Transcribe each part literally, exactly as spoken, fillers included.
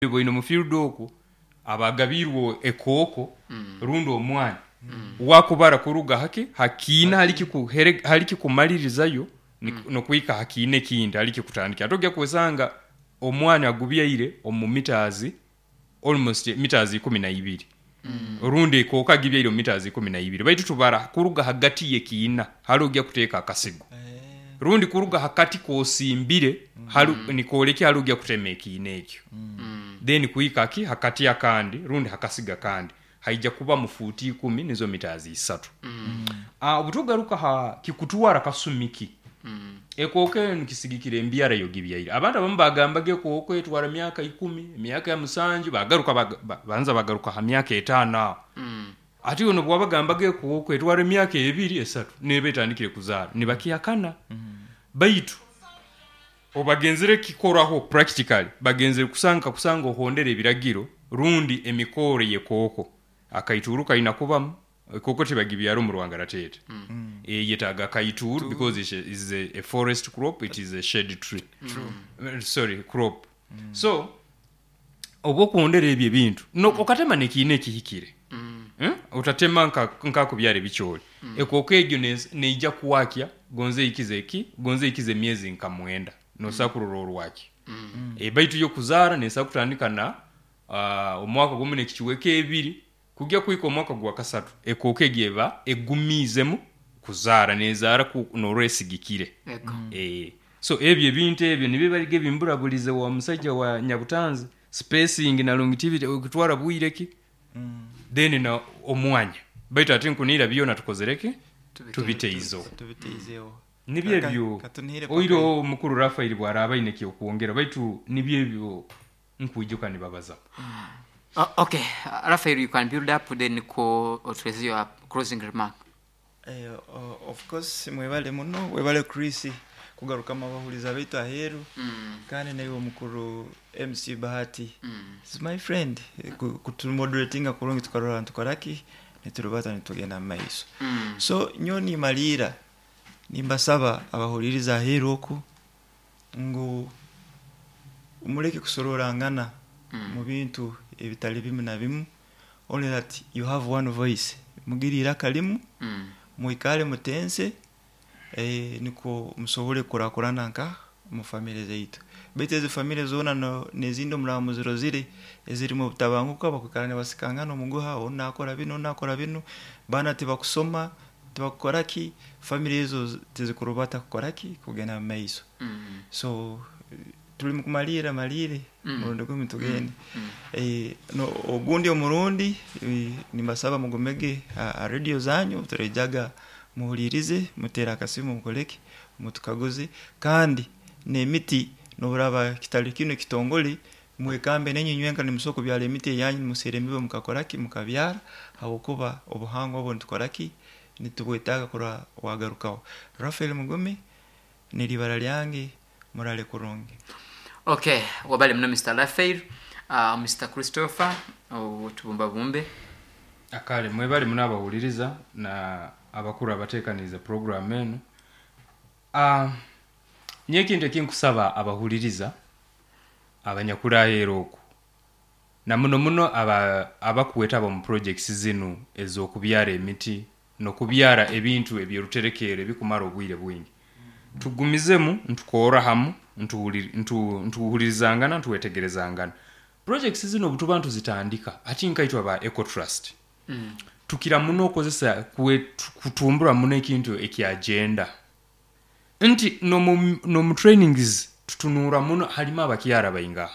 Boine mu field okwo abagabiirwe ekooko rundi omwani wakubara kuruga hake hakiina hariki hariki kumalirizayo nokwika hakiina ekindi hariki kutandika. Ate ojja kwesanga omwani agubyaire omu meters, almost meters ikumi naibiri, rundi ekooko agibyaire omu meters ikumi naibiri, baitu tubara kuruga hagati yekiina hali ojja kuteeka akasigo, rundi kuruga hakati kosimbire hali nikolekya hali ojja kutema ekiina ekyo, then kwika ki hakati akandi rundi hakasigo akandi haija kubamu fuuti ikumi, nizo meters isatu. Ah, obutugaruka ha kikutwara kasumi ki, ekooko enu kisigikira embyara yogibyaire. Abantu abamu bagambaga ekooko etwara myaka ikumi, emyaka musanju, bagaruka ba- banza bagaruka ha myaka etaano aho. Ati iwe nobu wabagambaga ekooko etwara emyaka ebiri esatu neba etandikire kuzaara, nibakihakana. Baitu obagenzere kukikoraho practically, bagenzere kusanga kusanga ohondere ebiragiro rundi emikoore y'ekooko. Akaituuru kaina kubamu, ekooko tibagibyara omu rwangaratete, eyetaaga akaituuru because is a, is a, a forest crop, it is a shade tree. Uh, sorry, crop. So oba okuhondera ebyo ebintu no, okatema nekiina ekihikire, hmm? Otatema nka nkakubyara ebicoori, ekooko egyo nes- neija kwakya gonze eikize ki gonze eikize emyezi nka mwenda nosobola kurora orwakyo. E, baitu yo kuzaara nesobola kutandika na uh, omwaka gumu n'ekichweka ebiri kugya kwika omwaka gwa kasatu, ekooko egyo eba egumiizemu kuzaara, nezaara norora esigikire. Ego. E, so ebyo ebintu ebyo nibyo bariga ebimburabulize wa musajja wa Nyabutanzi, spacing na longevity, okutwara bwire ki then na omwanya, baitu ate nkunira byona tukozere ki, tubiteizeho. Tubiteizeho. Nibyo Ka- ebyo. Katunihire. Oiro omukuru Rafael bwaraba aine kyokwongera, baitu nibyo ebyo nkwijuka nibabaza. Uh, okay, uh, Raphael, you can build up, then ko otuweze your closing remark. Eh, o- of course mwebale muno, webale Chris kugaruka amabahuriza baitu aheeru, Mm. kandi naiwe omukuru M C Bahati Mm. is my friend, Eh, ku- kutumoderatinga kurungi, tukarora ntukoraki niturubata nitugenda mu maiso. Mm. So nyo nimaliira nimbasaba abahuririza aheeru oku ngu muleke kusororangana Mm. mu bintu ebitali bimu na bimu, only that you have one voice, mugire iraka limu, Mm. mwikale mutense, eh, niko musobole kurakurana nka mu famire zaitu. Baitu ezi famire zoona no- nezindi omuraba muzirozire ezirimu obutabanguko, bakwikara nibasikangana omuguha, onu nakora binu, onu nakora binu, baana tibakusoma, tibakukora ki, famire ezo tizikurubata kukora ki kugenda mu maiso. Mm. So eh, turi mukumalira malire Mm. murundi gumi tugende. Mm. Eh, no, ogundi omurundi, eh, nimbasaba mugumege ha radio zanyu, turejaga muhulirize, mutere akasimu, mukoleke mutukaguze. Kandi n'emiti noburaba kitali kino kitongole, mwekambe nenyu nywenka nimusobola kubyara emiti eyanyu, nimusera emibe, mukakoraki mukabyara, habwokuba obuhangwa obwo nitukoraki nitubwetaaga kurora wagarukaho. Rafael Mugume niribara lyange, murale kurungi. Okay, wabale muno Mister Raphael, uh, Mister Christopher, otubumbabumbe. Akale mwebale muno abahuliriza na abakuru abateekaniize program enu. uh, nyo ekintu ekinkusaba abahuliriza abanyakuri aheeru oku na muno muno aba abakwetaba omu projects zinu ez'okubyara emiti n'okubyara ebintu ebyoruterekeero ebikumara obwire bwingi, tugumizemu ntukoora hamu, ntuhuliri- ntu- ntuhulirizangana, ntuwetegerezangana. Projects zino obutuba ntuzitandika, ati nkaitwe aba Ecotrust, Mm. tukira muno okozesa kwe- kutumbura muno ekintu ekyagenda nti nomu nomu trainings tutunuura muno halimu abakyara baingaha,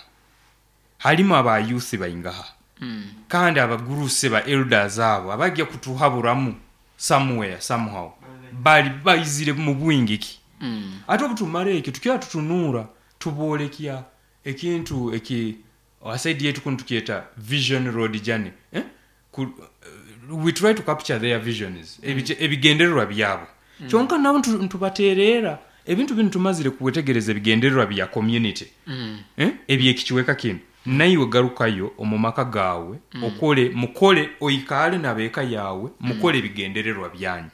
halimu aba youth baingaha, Mm. kandi abagurusi ba elders abo abajja kutuhaburamu somewhere somehow bali baizire mu bwingi ki. Mm. Ate obutumara ekyo tukira tutunuura tuboolekya ekintu eki asaidi yetu kunu tukyeta vision road journey, eh? Ku, uh, we try to capture their visions, mm. ebigendererwa byabo. mm. Kyonka nabo ntu- ntubateerera ebintu binu tumazire kuwetegereza ebigendererwa bya community, Mm. eh? Ebyekikiweka kinu naiwe garukayo omu maka gaawe, mm. okole mukole oikaale nabeeka yaawe, mukole ebigendererwa byanyu,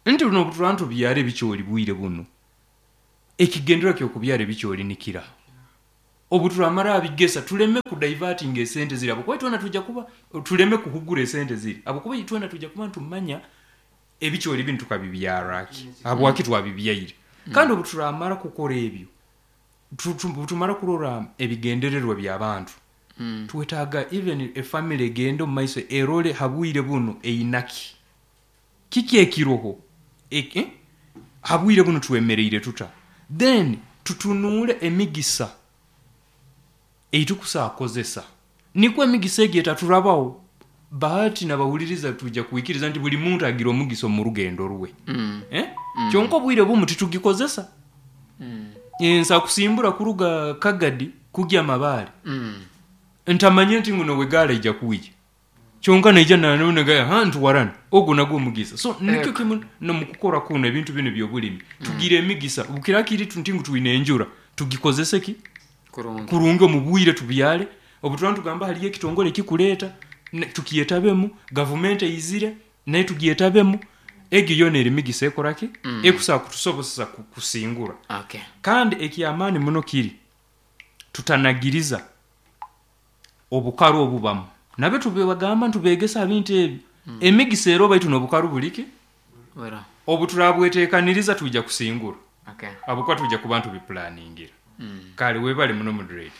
nti buno obutuba ntubyara ebikyoli bwire buno, ekigendererwa kyokubyara ebikyoli nikira. Obu turamara abigesa tuleme kudivertinga esente ziri, ahabwokuba itwena tujja kuba tuleme kuhugura esente ziri, ahabwokuba itwena tujja kuba nitumanya ebikyori binu tukabibyaraki, habwaki twabibyaire. Kandi obu turamara kukora ebyo, tu- tu- tumara kurora ebigendererwa by'abantu, Mm. twetaaga even efamily egende omu maiso erole habwire buno einaki kiki ekiroho Ek- eh? Habwire buno twemereire tuta, then tutunuule emigisa eitukusakozesa, nikwo emigisa egi etaturabaho. Bahati nabahuliriza, tujja kwikiriza nti buli muntu agira omugisa omu rugendo rwe. Mm. Eh? Kyonka obwire bumu titugikozesa. Mm. Nsa kusimbura kuruga Kagadi kugya Mabaare, Mm. ntamanye nti nguno wegaala ija kwija, kyonka naija nanonega ha ntuwarana ogwo nagwo omugisa. So nikyo kimu nomukukora kuno ebintu bino byobulimi, tugira emigisa bukirakiri nti ngu twine enjura, tugikozese ki Kurungi. Kurungi omu bwire, tubyale. Obu tuba nitugamba hariyo ekitongore ekikureeta, ne- tukyetabemu, gavumenti eizire naye tugyetabemu, egyo yoona eri migisa ekoraki Mm. ekusobola kutusobozesa ku- kusingura. Okay. Kandi ekyamaani muno kiri tutanagiriza obukaru obubamu, nabyo tubibagamba, ntubegesa bintu ebyo, emigisa ero baitu n'obukaru buliki. Wera. Obu turabweteekaniriza twija kusingura, Okay. ahabwokuba twija kuba ntubipulaningira. Mm. Kale webale muno, moderator.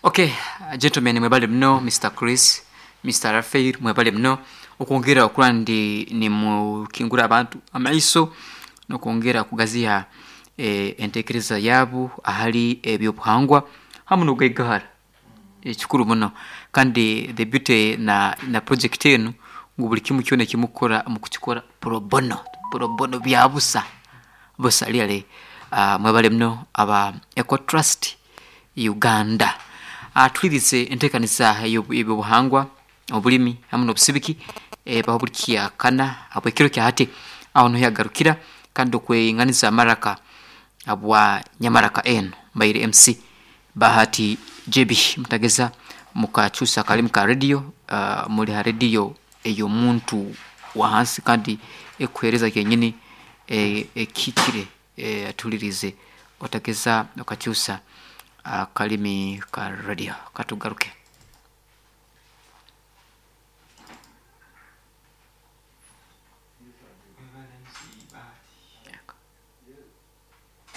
Okay, gentlemen, mwebale muno. Mister Chris, Mister Rafael, mwebale muno okwongera okura ndi nimukingura abantu amaiso nokwongera kugaziha eh, entekereza yaabo ahali ebyobuhangwa hamu n'okugaigahara, ekikuru muno. Kandi the beauty na, na project enu ngu buli kimu kyona ekimukukora mukukikora pro bono, pro bono, bya busa busa, really. uh, mwebale muno aba Eco Trust Uganda. uh, tulirize enteekaniza ey'ebyobuhangwa, obulimi hamu n'obusibiki ebaho buli kyakana habwekiro kya hati, aho niho yagarukira kandi okweinganiza amaraka abwa nyamaraka eno. Mbaire M C Bahati J B. Mutageza mukakyusa akalimi ka radio. uh, muli ha radio ey'omuntu wa hansi kandi ekuhereza kenyini ekihikire. e, tulirize, otageza okakyusa akalimi ka radio, katugaruke.